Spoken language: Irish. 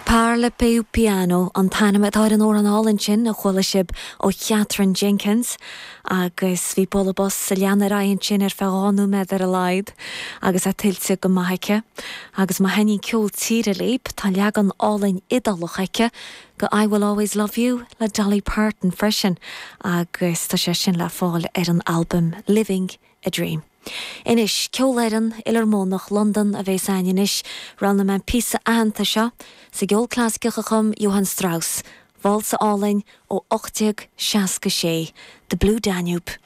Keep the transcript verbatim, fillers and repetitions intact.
Parla Più Piano an t-ainm atá ar an amhrán álainn sin a chuala sibh ó Katherine Jenkins agus bhí bualadh bos sa lean ar sin ar feadh dhá nóiméad ar a laghad agus é tuillte go maith aici agus má thaitníonn ceol tíre libh tá leagan álainn Iodálach aici de I Will Always Love You le Dolly Parton freisin agus tá sé sin le fáil ar an album Living a Dream. Anois Ceolfhoireann Fhilarmónach Londan a bheas againn anois roghnaigh mé an píosa aitheanta seo sa gceol clasaiceach a chum Johann Strauss, Válsa álainn ó ocht déag seasca sé, The Blue Danube.